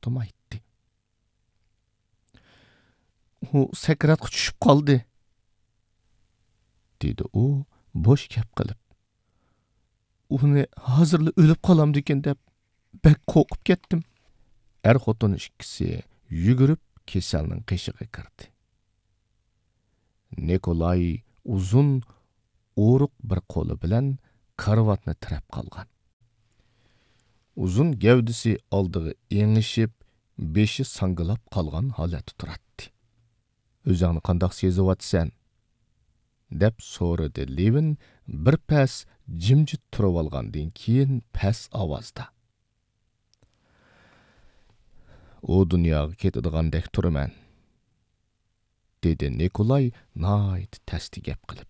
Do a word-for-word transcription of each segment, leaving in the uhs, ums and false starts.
توختىمايتتى. «ئۇ سەكراتقا چۈشۈپ قالدى»، دېدى ئۇ بوش گەپ قىلىپ. «ئۇنى ھازىرلا ئۆلۈپ قالامدىكىن دەپ بەك قورقۇپ كەتتىم.» ئەر-خوتۇن ئىككىسى يۈگۈرۈپ كېسەلنىڭ قېشىغا كىردى. نىكولاي ئۇزۇن ئورۇق بىر قولى بىلەن كارىۋاتنى تىرەپ قالغان. ئۇزۇن گەۋدىسى ئالدىغا ئېڭىشىپ، بېشى ساڭگىلاپ قالغان ھالەتتە تۇراتتى. «ئۆزۈڭنى قانداق سېزىۋاتىسەن؟» دەپ سورىدى لېۋىن بىر پەس جىمجىت تۇرۇۋالغاندىن كېيىن پەس ئاۋازدا. «ئۇ دۇنياغا كېتىدىغاندەك تۇرىمەن»، دېدى نىكولاي ناھايىتى تەستە گەپ قىلىپ.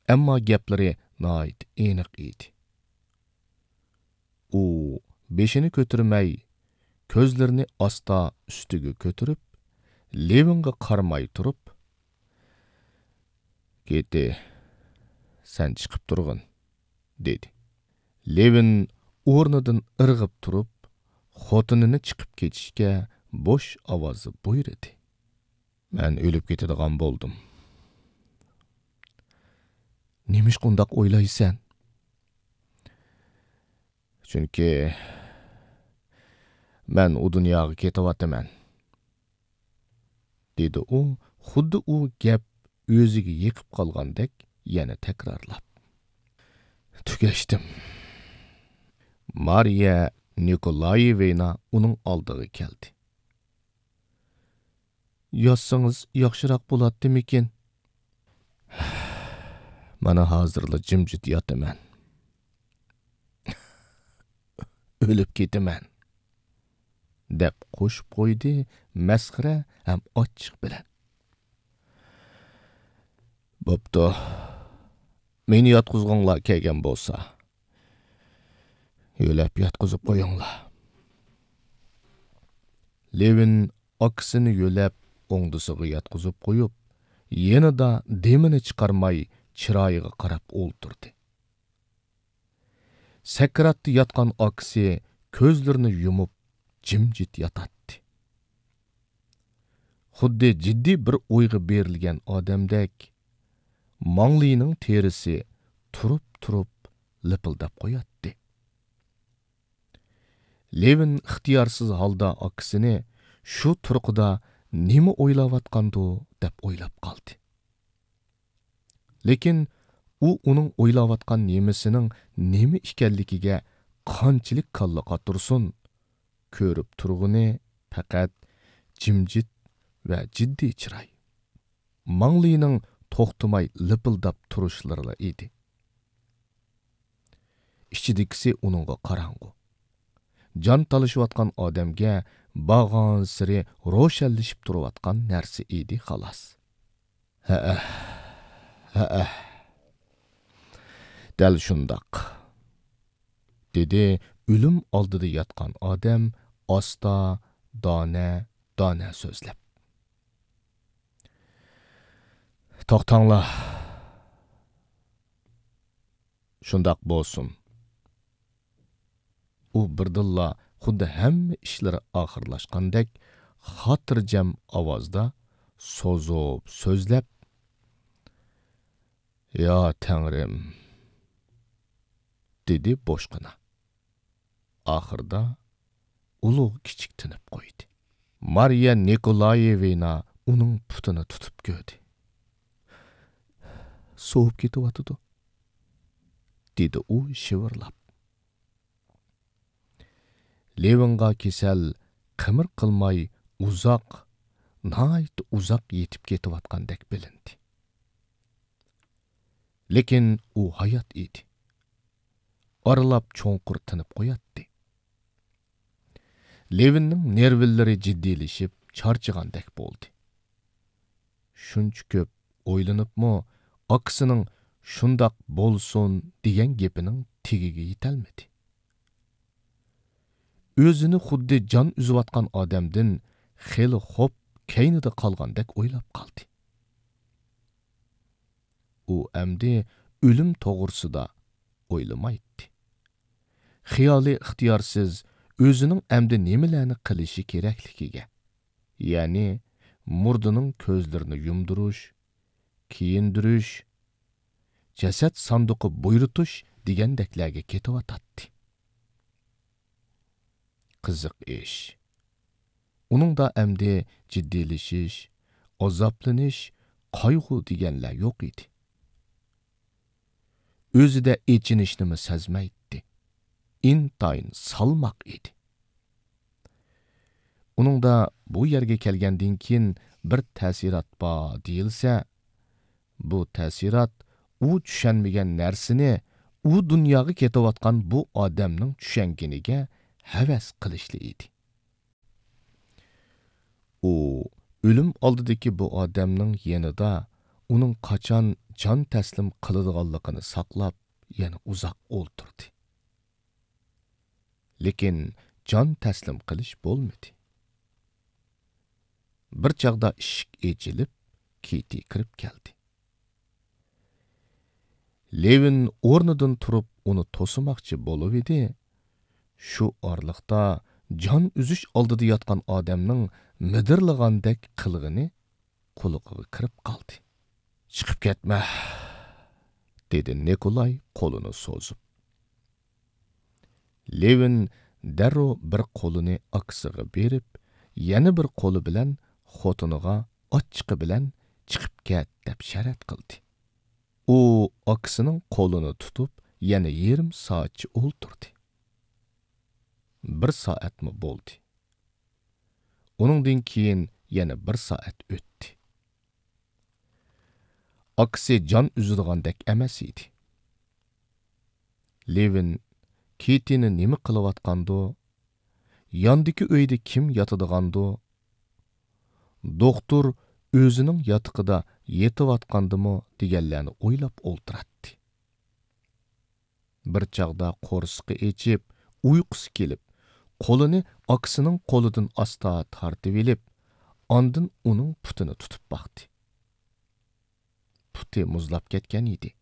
ئەمما گەپلىرى ناھايىتى ئېنىق ئىدى. ئۇ بېشىنى كۆتۈرمەي، كۆزلىرىنى ئاستا ئۈستىگە كۆتۈرۈپ، لېۋىنغا قارىماي تۇرۇپ، «كېتى، سەن چىقىپ تۇرغىن» دېدى. لېۋىن ئورنىدىن ئىرغىپ تۇرۇپ، خوتۇنىنى چىقىپ كېتىشكە بوش ئاۋازدا بۇيرۇدى. «مەن ئۆلۈپ كېتىدىغان بولدۇم.» «نېمىشقا ئۇنداق ئويلايسەن؟» «چۈنكى مەن ئۇ دۇنياغا كېتىۋاتىمەن.» دېدى ئۇ، خۇددى ئۇ گەپ ئۆزىگە يېقىپ قالغاندەك يەنە تەكرارلاپ. «تۈگەشتىم.» مارىيە نىكولايېۋنا ئۇنىڭ ئالدىغا كەلدى. «ياتسىڭىز ياخشىراق بولاتتىمىكىن؟» «مانا ھازىرلا جىمجىت ياتىمەن.» «ئۆلۈپ كېتىمەن.» دەپ قوشۇپ قويدى مەسخىرە ھەم ئاچچىق بىلەن. «بوپتۇ، مېنى ياتقۇزغۇڭلار كەلگەن بولسا، يۆلەپ ياتقۇزۇپ قويۇڭلار.» لېۋىن ئاكىسىنى يۆلەپ ئوڭدىسىغا ياتقۇزۇپ قويۇپ، يېنىدا دېمىنى چىقارماي چىرايىغا قاراپ ئولتۇردى. سەكراتتا ياتقان ئاكىسى كۆزلىرىنى يۇمۇپ جىمجىت ياتاتتى. خۇددى جىددىي بىر ئويغا بېرىلگەن ئادەمدەك، ماڭلىنىڭ تېرىسى تۇرۇپ-تۇرۇپ لىپىلداپ قوياتتى. لېۋىن ئىختىيارسىز ھالدا ئاكىسىنى شۇ تۇرقىدا نېمە ئويلاۋاتقاندۇ دەپ ئويلاپ قالدى. لېكىن ئۇ ئۇنىڭ ئويلاۋاتقان نېمىسىنىڭ نېمە ئىكەنلىكىگە قانچىلىك كاللا قاتۇرسۇن، كۆرۈپ تۇرغىنى پەقەت جىمجىت ۋە جىددىي چىراي، ماڭلىنىڭ توختىماي لىپىلداپ تۇرۇشلىرىلا ئىدى. ئىچىدىكىسى ئۇنىڭغا قاراڭغۇ. جان تالىشىۋاتقان ئادەمگە بارغانسېرى روشەنلىشىپ تۇرۇۋاتقان نەرسە ئىدى، خالاس. ھەئە، ھەئە، دەل شۇنداق، دېدى ئۆلۈم ئالدىدا ياتقان ئادەم ئاستا، دانە، دانە سۆزلەپ. توختاڭلار. شۇنداق بولسۇن. ئۇ بىردىنلا خۇددى ھەممە ئىشلىرى ئاخىرلاشقاندەك خاتىرجەم ئاۋازدا سوزۇپ سۆزلەپ، يا تەڭرىم، دېدى بوشقىنا. ئاخىرىدا ئۇلۇغ كىچىك تىنىپ قويدى. مارىيە نىكولايېۋنا ئۇنىڭ پۇتىنى تۇتۇپ كۆردى. سوۋۇپ كېتىۋاتىدۇ، دېدى ئۇ شىۋىرلاپ. لېۋىنغا كېسەل قىمىر قىلماي ئۇزاق، ناھايىتى ئۇزاق يېتىپ كېتىۋاتقاندەك بىلىندى. لېكىن ئۇ ھايات ئىدى. ئارىلاپ چوڭقۇر تىنىپ قوياتتى. لېۋىننىڭ نېرۋىلىرى جىددىيلىشىپ چارچىغاندەك بولدى. شۇنچە كۆپ ئويلىنىپمۇ، ئاكىسىنىڭ شۇنداق بولسۇن دېگەن گېپىنىڭ تېگىگە يېتەلمىدى. ئۆزىنى خۇددى جان ئۈزۈۋاتقان ئادەمدىن خېلى خوپ كەينىدە قالغاندەك ئويلاپ قالدى. ئۇ ئەمدى ئۆلۈم توغرىسىدا ئويلىمايتتى. خىيالى ئىختىيارسىز ئۆزىنىڭ ئەمدى نېمىلەرنى قىلىشى كېرەكلىكىگە، يەنى مۇردىنىڭ كۆزلىرىنى يۇمدۇرۇش، كىيىندۈرۈش، جەسەت ساندۇقى بۇيرۇتۇش دېگەندەكلەرگە كېتىۋاتاتتى. قىزىق ئىش. ئۇنىڭدا ئەمدى جىددىيلىشىش، ئازابلىنىش، قايغۇ دېگەنلەر يوق ئىدى. ئۆزىدە ئېچىنىشنىمۇ سەزمەيتتى. ئىنتايىن سالماق ئىدى. ئۇنىڭدا بۇ يەرگە كەلگەندىن كېيىن بىر تەسىرات بار دېيىلسە، بۇ تەسىرات ئۇ چۈشەنمىگەن نەرسىنى ئۇ دۇنياغا كېتىۋاتقان بۇ ئادەمنىڭ چۈشەنگىنىگە ھەۋەس قىلىشلا ئىدى. ئۇ ئۆلۈم ئالدىدىكى بۇ ئادەمنىڭ يېنىدا ئۇنىڭ قاچان جان تەسلىم قىلىدىغانلىقىنى ساقلاپ، يەنە ئۇزاق ئولتۇردى. لېكىن جان تەسلىم قىلىش بولمىدى. بىر چاغدا ئىشىك ئېچىلىپ، كىتى كىرىپ كەلدى. لېۋىن ئورنىدىن تۇرۇپ ئۇنى توسىماقچى بولۇۋىدى. شۇ ئارىلىقتا جان ئۈزۈش ئالدىدا ياتقان ئادەمنىڭ مىدىرلىغاندەك قىلغىنى قۇلىقىغا كىرىپ قالدى. «چىقىپ كەتمە!» دېدى نىكولاي قولىنى سوزۇپ. لېۋىن دەررۇ بىر قولىنى ئاكىسىغا بېرىپ، يەنە بىر قولى بىلەن خوتۇنىغا ئاچچىقى بىلەن «چىقىپ كەت» دەپ شەرەت قىلدى. ئۇ ئاكىسىنىڭ قولىنى تۇتۇپ، يەنە يېرىم سائەتچە ئولتۇردى. بىر سائەتمۇ بولدى. ئۇنىڭدىن كېيىن يەنە بىر سائەت ئۆتتى. ئاكىسى جان ئۈزىدىغاندەك ئەمەس ئىدى. لېۋىن كىتىنى نېمە قىلىۋاتقاندۇ؟ ياندىكى ئۆيدە كىم ياتىدىغاندۇ؟ دوختۇر ئۆزىنىڭ ياتىقىدا يېتىۋاتقاندىمۇ دېگەنلەرنى ئويلاپ ئولتۇراتتى. بىر چاغدا قورسىقى ئېچىپ، ئۇيقۇسى كېلىپ، قولىنى ئاكىسىنىڭ قولىدىن ئاستا تارتىۋېلىپ، ئاندىن ئۇنىڭ پۇتىنى تۇتۇپ باقتى. پۇتى مۇزلاپ كەتكەن ئىدى.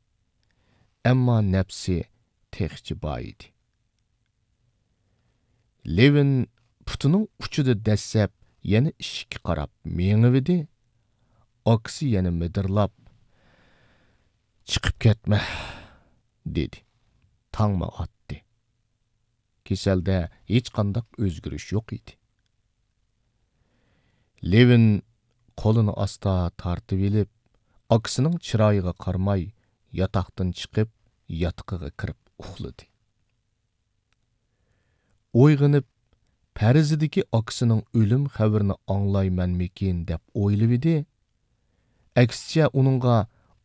ئەمما نەپسى تېخىچە بار ئىدى. لېۋىن پۇتىنىڭ ئۇچىدا دەسسەپ يەنە ئىشىككە قاراپ مېڭىۋىدى. ئاكىسى يەنە مىدىرلاپ، «چىقىپ كەتمە» دېدى. تاڭمۇ ئاتتى. كېسەلدە ھېچقانداق ئۆزگىرىش يوق ئىدى. لېۋىن قولىنى ئاستا تارتىۋېلىپ، ئاكىسىنىڭ چىرايىغا قارىماي، ياتاقتىن چىقىپ، ياتىقىغا كىرىپ ئۇخلىدى. ئويغىنىپ، پەرىزىدىكى ئاكىسىنىڭ ئۆلۈم خەۋىرىنى ئاڭلايمەنمىكىن دەپ ئويلىۋىدى. ئەكسىچە، ئۇنىڭغا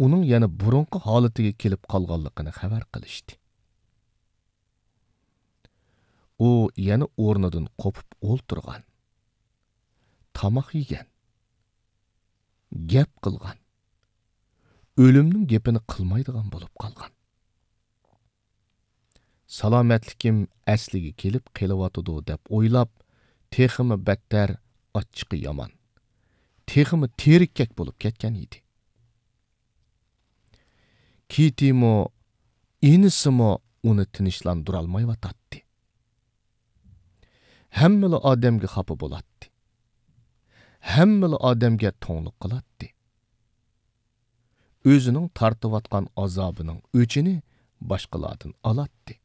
ئۇنىڭ يەنە بۇرۇنقى ھالىتىگە كېلىپ قالغانلىقىنى خەۋەر قىلىشتى. ئۇ يەنە ئورنىدىن قوپۇپ ئولتۇرغان. تاماق يېگەن. گەپ قىلغان. ئۆلۈمنىڭ گېپىنى قىلمايدىغان بولۇپ قالغان. سالامەتلىكىم ئەسلىگە كېلىپ قېلىۋاتىدۇ دەپ ئويلاپ، تېخىمۇ بەتتەر ئاچچىقى يامان، تېخىمۇ تېرىككەك بولۇپ كەتكەن ئىدى. كىتىمۇ، ئىنىسىمۇ ئۇنى تىنچلاندۇرالمايۋاتاتتى. ھەممىلا ئادەمگە خاپا بولاتتى. ھەممىلا ئادەمگە توڭلۇق قىلاتتى. ئۆزىنىڭ تارتىۋاتقان ئازابىنىڭ ئۆچىنى باشقىلاردىن ئالاتتى.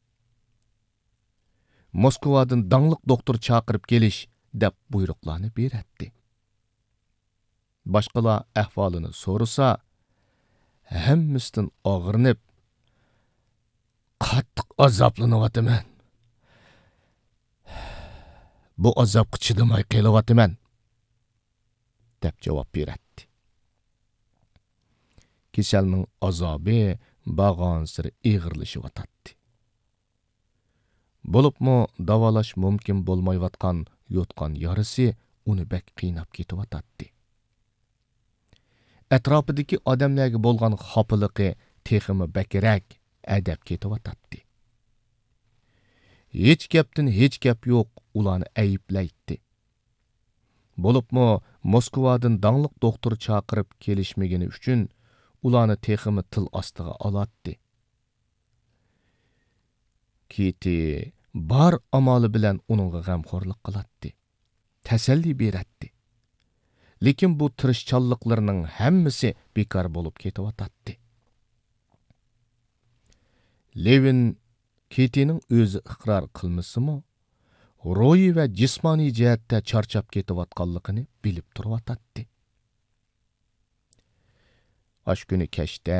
موسكۋادىن داڭلىق دوختۇر چاقىرىپ كېلىش دەپ بۇيرۇقلارنى بېرەتتى. باشقىلار ئەھۋالىنى سورىسا، ھەممىسىدىن ئاغرىنىپ، «قاتتىق ئازابلىنىۋاتىمەن. بۇ ئازابقا چىدىماي قېلىۋاتىمەن» دەپ جاۋاب بېرەتتى. كېسەلنىڭ ئازابى بارغانسېرى ئېغىرلىشىۋاتاتتى. بولۇپمۇ داۋالاش مۇمكىن بولمايۋاتقان يوتقان يارىسى ئۇنى بەك قىيناپ كېتىۋاتاتتى. ئەتراپىدىكى ئادەملەرگە بولغان خاپىلىقى تېخىمۇ بەكرەك ئەدەپ كېتىۋاتاتتى. ھېچ گەپتىن ھېچ گەپ يوق ئۇلارنى ئەيىبلەيتتى. بولۇپمۇ موسكۋادىن داڭلىق دوختۇر چاقىرىپ كېلىشمىگىنى ئۈچۈن ئۇلارنى تېخىمۇ تىل ئاستىغا ئالاتتى. كىتى بار ئامالى بىلەن ئۇنىڭغا غەمخورلۇق قىلاتتى، تەسەللى بېرەتتى. لېكىن بۇ تىرىشچانلىقلىرىنىڭ ھەممىسى بىكار بولۇپ كېتىۋاتاتتى. لېۋىن كېتىنىڭ ئۆزى ئىقرار قىلمىسىمۇ، روھىي ۋە جىسمانىي جەھەتتە چارچاپ كېتىۋاتقانلىقىنى بىلىپ تۇرۇۋاتاتتى. ئاشۇ كۈنى كەچتە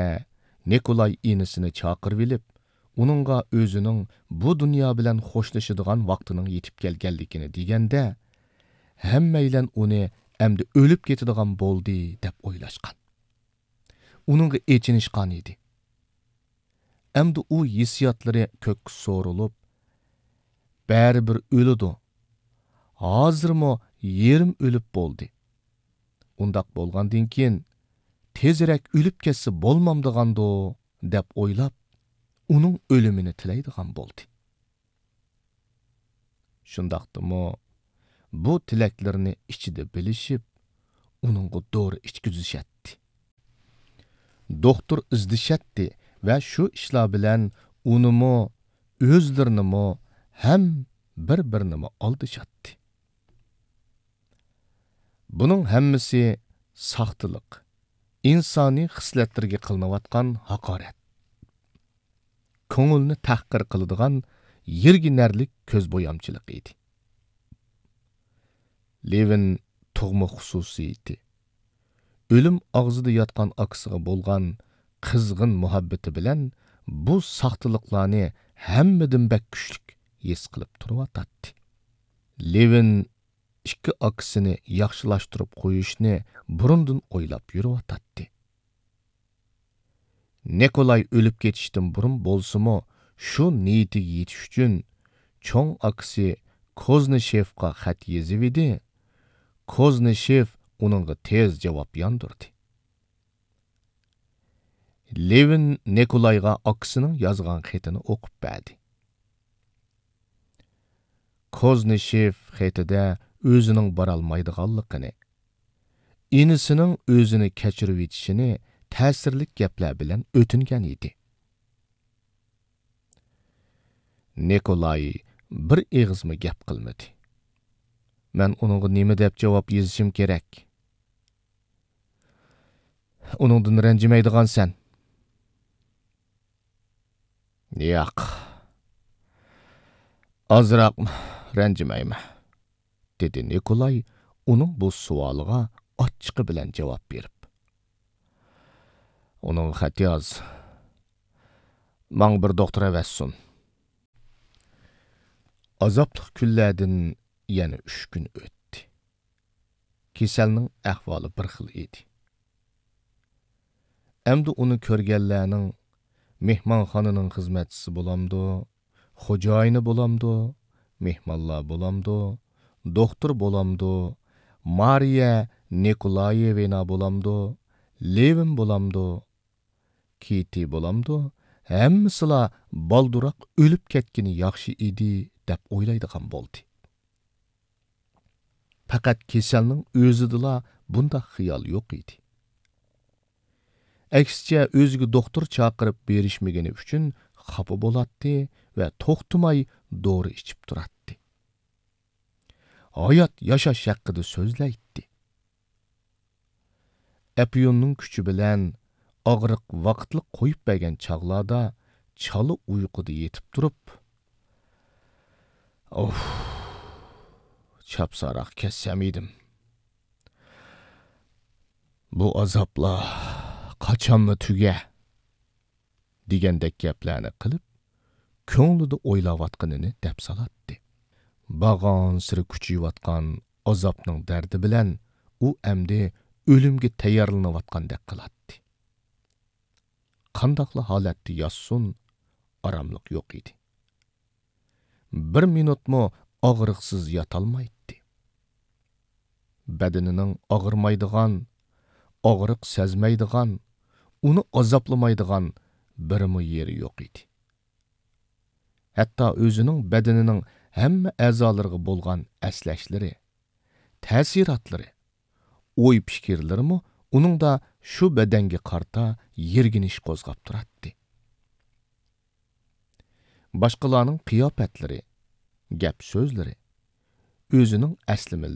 نىكولاي ئىنىسىنى چاقىرىۋېلىپ، ئۇنىڭغا ئۆزىنىڭ بۇ دۇنيا بىلەن خوشلىشىدىغان ۋاقتىنىڭ يېتىپ كەلگەنلىكىنى دېگەندە، ھەممەيلەن ئۇنى ئەمدى ئۆلۈپ كېتىدىغان بولدى دەپ ئويلاشقان. ئۇنىڭغا ئېچىنىشقان ئىدى. ئەمدى ئۇ ھېسسىياتلىرى كۆككە سورۇلۇپ، بەرىبىر ئۆلىدۇ. ھازىرمۇ يېرىم ئۆلۈپ بولدى. ئۇنداق بولغاندىن كېيىن، تېزرەك ئۆلۈپ كەتسە بولمامدىغاندۇ، دەپ ئويلاپ، ئۇنىڭ ئۆلۈمىنى تىلەيدىغان بولدى. شۇنداقتىمۇ، بۇ تىلەكلىرىنى ئىچىدە بىلىشىپ، ئۇنىڭغا دورا ئىچكۈزۈشەتتى. دوختۇر ئىزدىشەتتى ۋە شۇ ئىشلار بىلەن ئۇنىمۇ، ئۆزلىرىنىمۇ ھەم بىر-بىرىنىمۇ ئالدىشاتتى. بۇنىڭ ھەممىسى ساختىلىق، ئىنسانىي خىسلەتلەرگە قىلىنىۋاتقان ھاقارەت، كۆڭۈلنى تەھقىر قىلىدىغان يىرگىنەرلىك كۆزبويامچىلىق ئىدى. لېۋىن تۇغما خۇسۇسىيىتى، ئۆلۈم ئاغزىدا ياتقان ئاكىسىغا بولغان قىزغىن مۇھەببىتى بىلەن بۇ ساختىلىقلارنى ھەممىدىن بەك كۈچلۈك ھېس قىلىپ تۇرۇۋاتاتتى. لېۋىن ئىككى ئاكىسىنى ياخشىلاشتۇرۇپ قويۇشنى بۇرۇندىن ئويلاپ يۈرۈۋاتاتتى. نىكولاي ئۆلۈپ كېتىشتىن بۇرۇن بولسىمۇ، شۇ نىيىتىگە يېتىش ئۈچۈن چوڭ ئاكىسى كوزنىشېفقا خەت يېزىۋىدى. كوزنىشېف ئۇنىڭغا تېز جاۋاب ياندۇردى. لېۋىن نىكولايغا ئاكىسىنىڭ يازغان خېتىنى ئوقۇپ بەردى. كوزنىشېف خېتىدە ئۆزىنىڭ بارالمايدىغانلىقىنى، ئىنىسىنىڭ ئۆزىنى كەچۈرۈۋېتىشىنى تەسىرلىك گەپلەر بىلەن ئۆتۈنگەن ئىدى. نىكولاي بىر ئېغىزمۇ گەپ قىلمىدى. مەن ئۇنىڭغا نېمە دەپ جاۋاب يېزىشىم كېرەك؟ ئۇنىڭدىن رەنجىمەيدىغانسەن. ياق، ئازراق رەنجىمەيمەن، دېدى نىكولاي ئۇنىڭ بۇ سوئالىغا ئاچچىقى بىلەن جاۋاب بېرىپ. ئۇنىڭغا خەت ياز. ماڭا بىر دوختۇر ئەۋەتسۇن. ئازابلىق كۈنلەردىن يەنە ئۈچ كۈن ئۆتتى. كېسەلنىڭ ئەھۋالى بىر خىل ئىدى. ئەمدى ئۇنى كۆرگەنلەرنىڭ مېھمانخانىنىڭ خىزمەتچىسى بولامدۇ، خوجايىنى بولامدۇ، مېھمانلار بولامدۇ، دوختۇر بولامدۇ، مارىيە نىكولايېۋنا بولامدۇ، لېۋىن بولامدۇ، كىتى بولامدۇ، ھەممىسىلا بالدۇراق ئۆلۈپ كەتكىنى ياخشى ئىدى، دەپ ئويلايدىغان بولدى. پەقەت كېسەلنىڭ ئۆزىدىلا بۇنداق خىيال يوق ئىدى. ئەكسىچە، ئۆزىگە دوختۇر چاقىرىپ بېرىشمىگىنى ئۈچۈن خاپا بولاتتى ۋە توختىماي دورا ئىچىپ تۇراتتى. ھايات ياشاش ھەققىدە سۆزلەيتتى. ئەپيۈننىڭ كۈچى بىلەن ئاغرىق ۋاقىتلىق قويۇپ بەرگەن چاغلاردا چالا ئۇيقۇدا يېتىپ تۇرۇپ، «ئوھ، چاپسانراق كەتسەم ئىدىم. بۇ ئازابلار قاچانلا تۈگە؟» دېگەندەك گەپلەرنى قىلىپ، كۆڭلىدە ئويلاۋاتقىنىنى دەپ سالاتتى. بارغانسېرى كۈچىيىۋاتقان ئازابنىڭ دەردى بىلەن ئۇ ئەمدى ئۆلۈمگە تەييارلىنىۋاتقاندەك قىلاتتى. قانداقلا ھالەتتە ياتسۇن، ئاراملىق يوق ئىدى. بىر مىنۇتمۇ ئاغرىقسىز ياتالمايتتى. بەدىنىنىڭ ئاغرىمايدىغان، ئاغرىق سەزمەيدىغان، ئۇنى ئازابلىمايدىغان بىرمۇ يېرى يوق ئىدى. ھەتتا ئۆزىنىڭ بەدىنىنىڭ ھەممە ئەزالىرىغا بولغان ئەسلەشلىرى، تەسىراتلىرى، ئوي-پىكىرلىرىمۇ ئۇنىڭدا شۇ بەدەنگە قارىتا يىرگىنىش قوزغاپ تۇراتتى. باشقىلارنىڭ قىياپەتلىرى، گەپ سۆزلىرى، ئۆزىنىڭ ئەسلى مىللىتى،